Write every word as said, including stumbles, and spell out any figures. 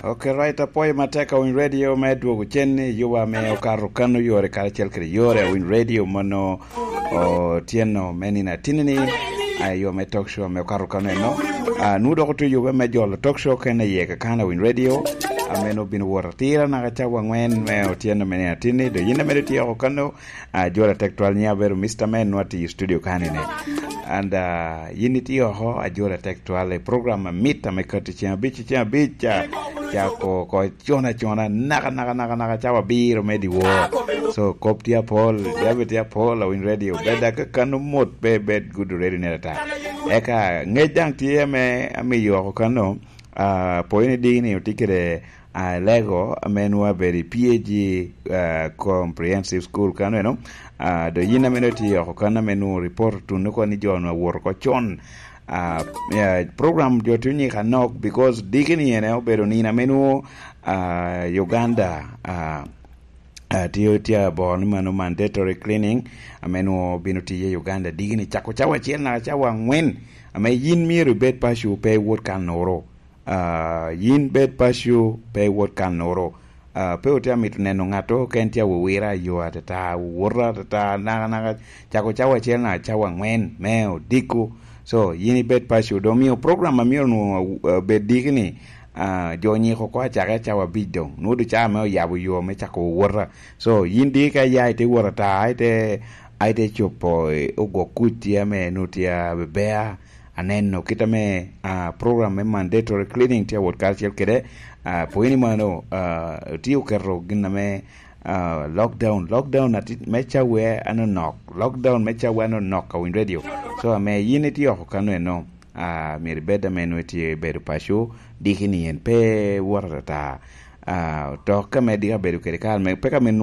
Ok, right, apwoyo matek a Winy Radio me dwogo cen i yuba ame okato kano yore karacel kede yore a Winy Radio mono otyeno me nino atinni-ni, a, yo me talk show ame okato kano eno. A, nwoŋo dok otye yube me jolo talk show kene iye kakana Winy Radio, ame nwoŋo obino wot atira naka cawa angwen me otyeno me nino atinni, do yin ame itye oko kano, a, ajolo atek twal, nyiŋa abedo Mister Man, nwoŋo atye i studio kani-ni. And, a, yin itye oko, ajolo atek twal i program amit ame kati ceŋ abic, ceŋ abic, a, cako oko cona cona, naka, naka, naka, naka, cawa abiro me dyewor. So, kop tye apol, jami tye apol, a Winy Radio. Bed aka kano mot, pe bed gudo ready ne ata. Eka, ngec daŋ tye ame amiyo oko kano, a, pwony ni dini otye kede, a, lego ame nwoŋo abedo i P A G, a, Comprehensive School kano eno. A, do yin ame nwoŋo itye oko kano ame nwoŋo report otuno oko ni jo nwoŋo awoto oko con. A, ya, program jo tye onyiko anok because dikini ene obedo nino ame nwoŋo, a, Uganda, a, a, tye, tye aboro ni mano mandatory cleaning ame nwoŋo bino tiye i Uganda dikini cako cawa acel naka cawa angwen, ame yin myero ibed paco pe iwot kanoro. A, yin bed paco pe iwot kanoro. A, pe otye amito neno ŋato ka en tye awowira yo atata, wowota atata, naka, naka, cako cawa acel naka cawa angwen me odiko. So, yin ibed paco, doŋ omio program a myero nwoŋo, a, bed diki ni, a, jo onyiko oko acake cawa abic doŋ. Nwoŋo doŋ caa me oyabo yo me cako wowota. So, yin diki ka iya ite wot ata, ite, a ite copo, e, ogwok kuc tye ame nwoŋo tye abebea, aneno kit ame, a, program me mandatory cleaning tye awot karacel kede, a, pwony ni mano, a, tye oketo gin ame, a, lockdown, lockdown ati-, me cawa anonok, lockdown me cawa anonok a Winy Radio. So, ame yin itye oko kano eno, a, myero ibed ame nwoŋo itye bedo paco, diki ni en pe wot atata. A, tok ame diki abedo kede kare me, peka me nwoŋo